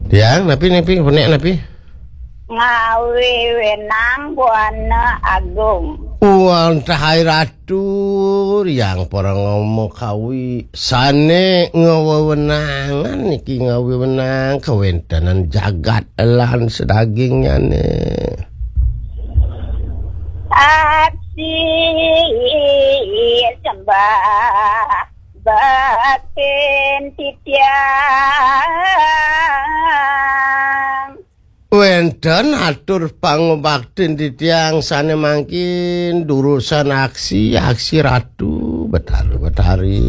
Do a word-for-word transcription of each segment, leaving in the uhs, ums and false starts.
Tiang, napi, napi, penek, napi? Ngawi wenang Buana Agung. Wantah hai Ratu, yang para ngomong kawi. Sane ngawewenangan niki ngawi wenang kawentenan jagat lan sedagingnyane. Aksi sembah baktin titiang. Wenten atur pangubaktin titiang sane mangkin durusan aksi, aksi Ratu Betari, Betari.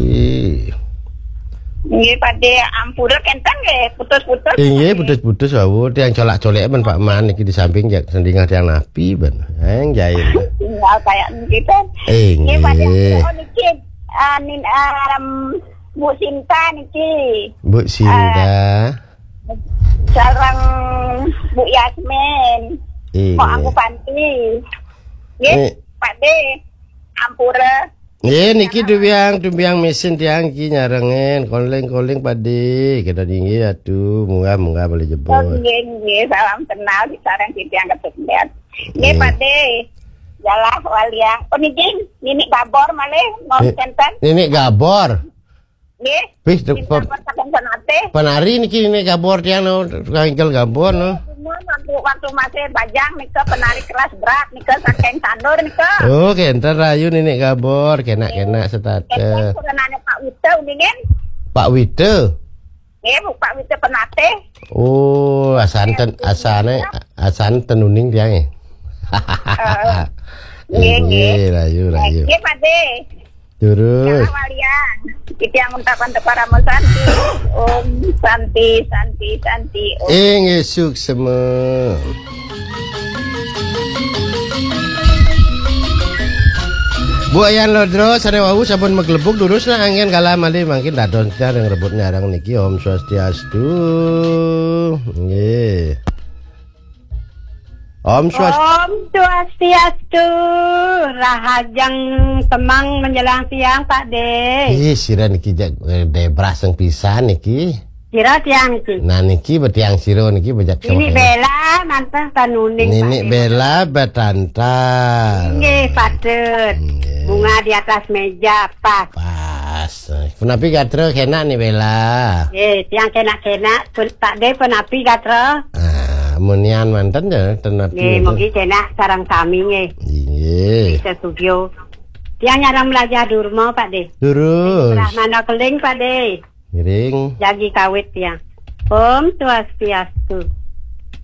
Nggih, Pade, ampura kenten nggih, putus-putus. Inggih, putus-putus wau, tiang colak-colek ben Pak Man niki di samping jak sendingah tiang napi ben. Eng jail. Tinggal kayak niki, Pade. Inggih. Nggih, Pade, oh, niki, ah, nin, ah, Bu Sinta niki. Bu Sinta. Ah, sareng Bu Yasmin. Iya. Mau aku panti. Nggih, eh. Pade. Ampura. Nggih, niki dubiang, dubiang mesin tiang iki nyarengin, koling-koling Pade. Kita tinggi atu, munggah-munggah boleh jebot. Oh, nggih, nggih, salam kenal di sareng titiang ketuk lihat. Nggih, nggih. Pade. Jalah waliang. Oh, niki, nini Gabor malih, mau Ni-, centen. Nini Gabor. Nggih. Wis, Cinta pe-, Persahabatan Penatih. Penari niki, nini Gabor tiang no, tukang ingkel Gabor no. Nggih, waktu, waktu masih bajang nika penari kelas berat nika saking Sanur nika. Oh, kenten rayu nini Gabor, kenak-kenak setata. Kenten pernah Pak Wita uningan. Pak Wita. Nggih, Bu, Pak Wita Penatih. Oh, asan ten, asane, asan tenuning tiang, eh. Eh, nggih, nggih. Nggih, rayu, rayu. Nggih, Pade. Terus. Salah walian. Titiang untapan teparamu santi. Om santi, santi, santi. Om. Ing isuk seme. Bu Ayan Lodro, sare wau sampun maglebuk durus nah anggen kala malih mangkin dados ring rebut nyarang niki. Om Swastiastu. Nggih. Om Swastiastu. Om Swastiastu. Rahajeng temang menjelang siang, Pak De. Ih, sira niki jak, eh, debrah sing pisan niki. Sira tiang niki. Nah, niki betiang sira niki bejak. Nini Bella manten tanuning, Pak De. Bella betantan. Nggih, patut. Nggih. Bunga di atas meja, pas. Pas. Punapi gatra kenak ni Bella? Nggih, tiang kenak-kenak, pun, Pak De punapi gatra? Ah, munian manten ya, tenapi. Nggih, mugi kenak sareng sami nggih. Nggih. Bisa sugio. Tiang nyarang belajar durma, Pak De. Durus. Brahmana keling, Pak De. Ngiring. Jagi kawit tiang. Om Swastiastu.